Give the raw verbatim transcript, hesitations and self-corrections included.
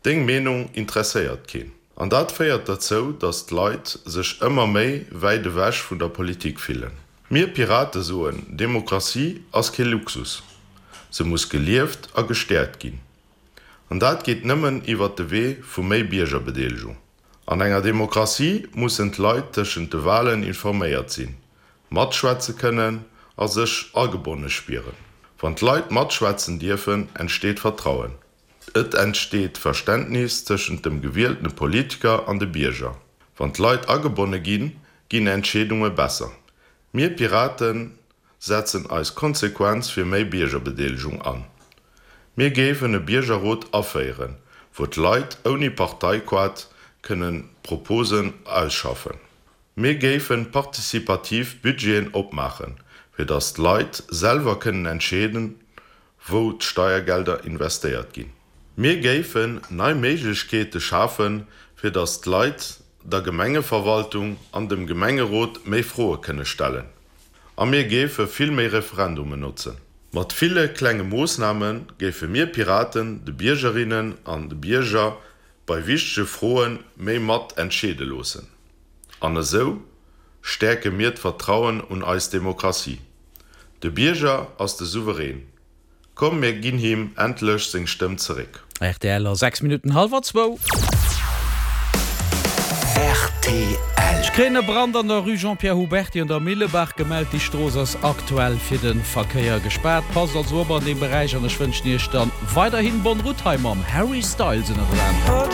Deng Meenung interesséiert keen. An dat féiert derzou, datt d'Leit sech ëmmer méi wäit ewech vun der Politik fillen. Mir Pirate soen, Demokratie ass kee Luxus. Se muss gelieft a gestäerkt ginn. An dat geet nëmmen iwwer de Wee vu méi Biergerbedeelegung. An enger Demokratie mussen d'Leit tëschent de Walen informéiert sinn, matschwätze kënnen a sech agebonne spieren. Wann d'Leit matschwätzen dierfen, entsteet Vertrauen. Et entsteet Verständnis tëschent dem gewieltene Politiker an de Bierger. Wann d'Leit agebonne ginn, ginn Entscheedunge besser. Mir Piraten setzen eis konsequent fir méi Biergerbedeelegung an. Mir géifen e Biergerrot aféieren, wou d'Leit ouni Parteikaart kënne Proposen ausschaffen. Mir géife partizipativ Budgeten opmaachen, fir datt d'Leit selwer kënnen entscheeden, wou d'Steiergelder investéiert ginn. Mir géifen nei Méiglechkeete schafen, fir datt d'Leit der Gemengeverwaltung an dem Gemengerot méi Froe kënne stellen. A mir géife vill méi Referendumen notzen. Mat ville klenge Moossname géife mir Piraten de Biergerinnen an de Bierger bei wichtege Froe méi mat entscheede loossen. An esou stäerke mir d'Vertrauen un eis Demokratie. De Bierger ass de Souverän. Komm mir ginn him endlech seng Stëmm zeréck. R T L sechs Minutten hallwer zwou. R T L. Ech kréien e Brand an der Rue Jean-Pierre Huberty an der Millebaach gemellt. Déi Strooss ass aktuell fir de Verkéier gespaart. Passt also op an deem Beräich an ech wënschen Iech dann weiderhin bonne route hei mam Harry Styles ënner.